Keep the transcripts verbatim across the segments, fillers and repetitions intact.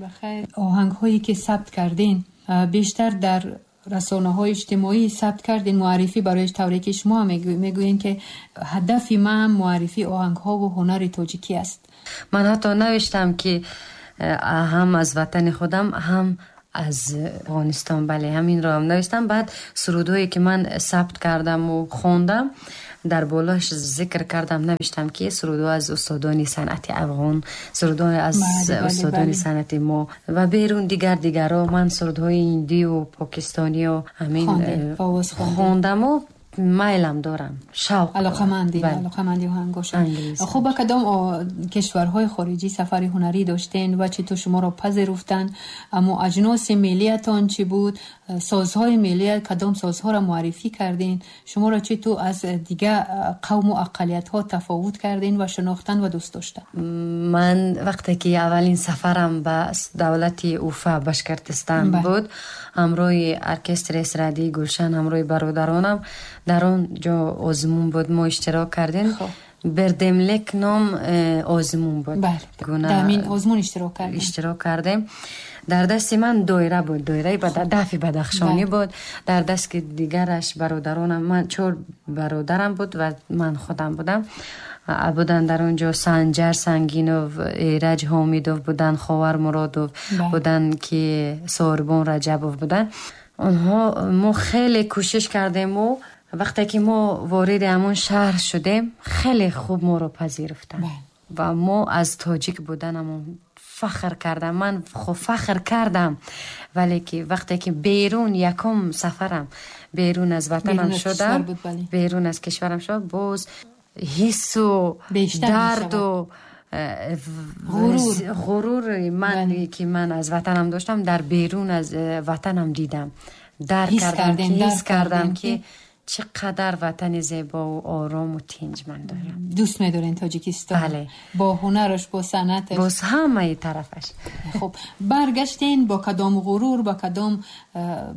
Бахайр. Оҳангҳое ки сабт кардин, бештар дар расонаҳои иҷтимоӣ сабт кардин, муаррифӣ барои тавре ки шумо мегӯед, ки ҳадафи ман муаррифии оҳангҳову ҳунари тоҷикӣ аст. Ман ҳатто навиштам, ки ҳам аз ватани худам, ҳам аз Афғонистон, бале, ҳаминро ҳам навиштам. Баъд сурудҳое ки ман сабт кардаму хондам, дар болош зикр кардам, навиштам, ки сурудҳо аз устодони санъати афғон, сурудҳо аз устодони санъати мо ва берун дигар дигарро. Ман сурудҳои ҳиндию покистонию ҳамин хондаму майлам дорам, шавқ. Алоқаманди, алоқаманди оҳангошон. Хуб, ба кадом кишварҳои хориҷӣ сафари ҳунарӣ доштен ва чӣ ту шуморо пазируфтанд? Аммо аҷноси миллиятон чӣ буд? Созҳои миллия, кадом созҳоро муаррифӣ кардин? Шуморо чӣ ту аз дигар қавму ақаллиятҳо тафовут кардин ва шинохтан ва дӯст доштан? Ман вақте ки аввалин сафарам ба давлати Уфа, Башкортостан буд, ҳамроҳи оркестри эстрадии «Гулшан», ҳамроҳи бародаронам, дар он ҷо озмун буд, мо иштирок кардем. «Бердемлек» ном э, озмун буд. Озмун иштирок кардем. Иштирок кардем. Дар дасти ман доира буд, доираи дафи бадахшонӣ буд. Дар дасти дигараш бародаронам, ман чор бародарам буд ва ман худам будам. Буданд дар он ҷо Санҷар Сангинов, Эраҷ Ҳомидов буданд, Ховар Муродов буданд, ки Сорбон Раҷабов буданд. Онҳо, мо хеле кӯшиш кардему вақте ки мо вориди ҳамон шаҳр шудем, хеле хуб моро пазируфтанд ва мо аз тоҷик буданамон фахр кардам. Ман фахр кардам, вале ки вақте ки берун, якум сафарам берун аз ватанам шудам, берун аз кишварам шуд, боз ҳиссу дарду ғурури ман, ки ман аз ватанам доштам, дар берун аз ватанам дидам, дарк кардам, ҳис кардам, ки чӣ қадар ватани зебову орому тинҷ ман дорам. Дӯст медорен Тоҷикистон? Бале. Бо ҳунараш, бо санъаташ? Бо ҳамаи тарафаш. Хуб, баргаштен бо кадом ғурур, ба кадом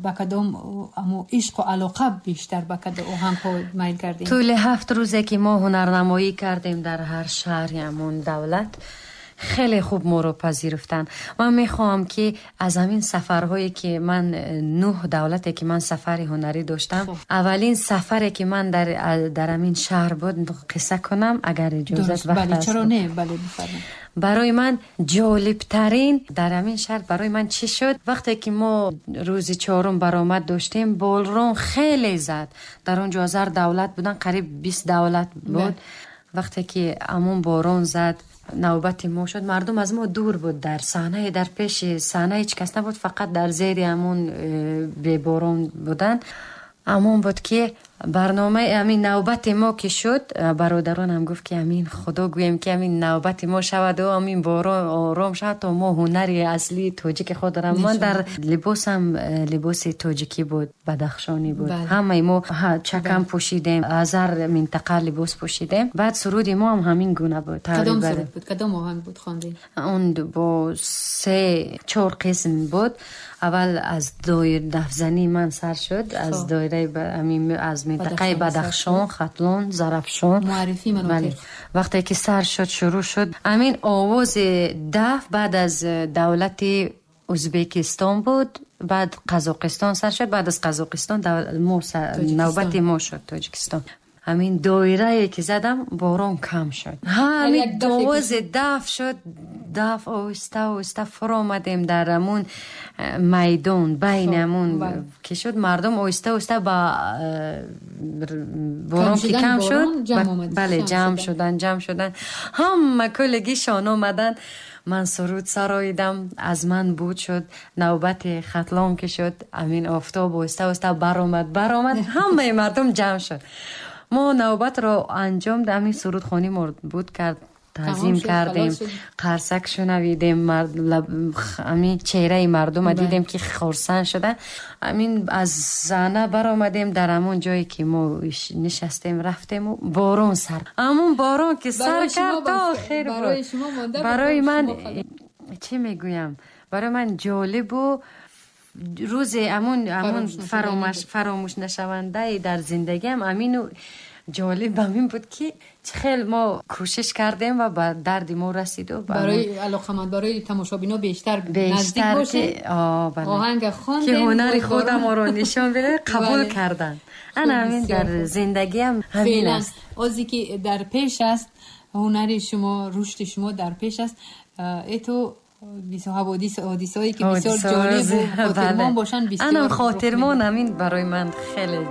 ба кадом амо ишқу алоқа бештар ба кадом оҳангҳо майл кардем? Тӯли ҳафт рӯзе ки мо ҳунарнамоӣ кардем дар ҳар шаҳри ҳамон давлат, хеле хуб моро пазируфтанд. Ман мехоҳам, ки аз ҳамин сафарҳое ки ман, нӯҳ давлате ки ман сафари ҳунарӣ доштам, аввалин сафаре ки ман дар дар ҳамин шаҳр буд, қисса кунам, агар иҷозат вақт аст. Чаро не, бале, бифармоед. Барои ман ҷолибтарин дар ҳамин шаҳр барои ман чӣ шуд? Вақте ки мо рӯзи чорум баромад доштем, борон хеле зад. Дар он ҷо ҳазар давлат будан, қариб бист давлат буд. Вақте ки ҳамон борон зад, навбати мо шуд, мардум аз мо дур буд, дар саҳнае, дар пеши саҳна ҳеҷ кас набуд, фақат дар зери ҳамон э, беборон буданд. Ҳамон буд, ки барномаи ҳамин навбати мо ки шуд, бародаронам гуфт, ки ҳамин Худо гӯем, ки ҳамин навбати мо шаваду ҳамин борон ором шавад, то мо ҳунари аслии тоҷики худро. Ман дар либосам э, либоси тоҷикӣ буд, бадахшонӣ буд. Ҳамаи мо чакам пӯшидем, аз ҳар минтақа либос пӯшидем. Баъд суруди мо ҳам ҳамин гуна буд. Кадом суруд буд, кадом оҳанг буд хондем? Он бо се чор қисм буд. Аввал аз доир дафзании ман сар шуд, аз доираи аз минтақаи Бадахшон, Хатлон, Зарафшон. Муаррифӣ. Вақте ки сар шуд, шурӯъ шуд ҳамин овози даф, баъд аз давлати Ӯзбекистон буд, баъд Қазоқистон сар шуд, баъд аз Қазоқистон навбати мо шуд, Тоҷикистон. Ҳамин доирае ки задам, борон кам шуд, ҳамин овози даф шуд, даф оҳиста оҳиста фуромадем дар ҳамун э, майдон, байни ҳамун ки шуд, мардум оҳиста оҳиста ба э, борон ки кам шуд, бале, ҷамъ шудан, ҷамъ шудан, ҳама куллигишон омаданд. Ман суруд сароидам, аз ман буд шуд. Навбати Хатлон ки шуд, ҳамин офтоб оҳиста оҳиста баромад, баромад, ҳамаи мардум ҷамъ шуд. Мо навбатро анҷом, ҳамин сурудхонӣ буд, кард, таъзим кардем, қарсак шунавидем, ҳамин чеҳраи мардума дидем, ки хурсанд шуда. Ҳамин аз саҳна баромадем, дар ҳамон ҷое ки мо нишастем, рафтему борон сар, ҳамон борон ки сар кард, то охир буд. Барои ман, чӣ мегӯям, барои ман ҷолибу рӯзе ҳамон ҳамон фаромӯш нашавандаи дар зиндагиам ҳамину. ҷолиб ҳамин буд ки чӣ хел мо кӯшиш кардем ва ба дарди мо расиду барои алоқаманд, барои тамошобино бештар наздик бошем. Оҳанга хондем ки ҳунари худамонро нишон бидем, қабул карданд. Ана ҳамин дар зиндагиам ҳамин аст. Озе ки дар пеш аст ҳунари шумо, рушди шумо дар пеш аст. Это ҳодисаҳое ки бисёр ҷолибу хотирмон бошанд, бисёр. Анам хотирмон ҳамин барои ман хеле